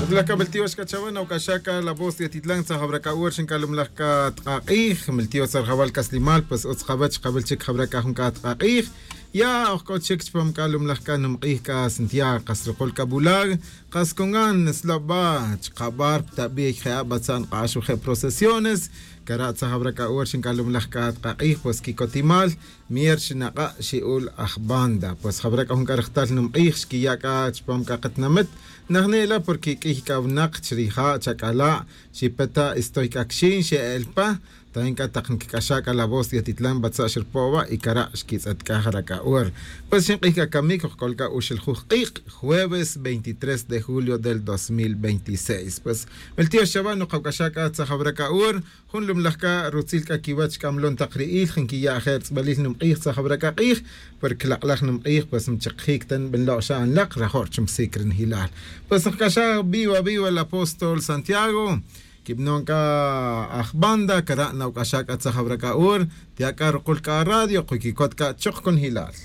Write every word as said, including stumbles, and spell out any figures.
Tlacabeltío xcachaban, Ocaxaca, la voz de Atitlán, Tzajabracaur, Xinkalumlajka, Tqaqij, Meltío Tzarjabal Caslimal, pues Otzjabach, Jabelchik, Jabraca, Junka, Tqaqij, Ya, Ojkochik, Chpam Kalumlajka, Numqij, Ka, Santiago, Casrocol, Kabulag, Cascongan, Slaba, Chkabar, Tabi, Jea, Batzan, Qashu, procesiones, Kara, Tzajabracaur, Xinkalumlajka, Tqaqij, pues Kikotimal, Mier, Xinaqa, Xiul, Ajbanda, pues Jabraca, Junkarajtal, Numqij, Xkiyaka, Chpam Kakatnamet, Nahnela porque k'ij chrija chakala xipeta estoy kakxin xe'elpa tainka taqnkik'axaka la voz de Atitlán batza xirpowa y kara xkitz'atk'aj rak'a'ur. Pues xinq'ij kakamik ojkolka uxiljuj q'iq jueves veintitrés de julio del dos mil veintiséis. Pues el tío Shabano qawk'axaka tzajabrакa'ur jun lumlajka rutzilka kiwach k'amlon taqri'il jinkiya ajertz'b'alil numq'ij tzajabrакaq'ij porque laq'laj numq'ij pues mchiqjik tan b'enlo'xa anlaq rajor chumsik rinjilal. Pues nqk'axa viva viva el apóstol Santiago kibnonka ajbanda kara nawk'axaka tzajabrакa'ur tiaka ruqulka radio quykikotka choq con hilal.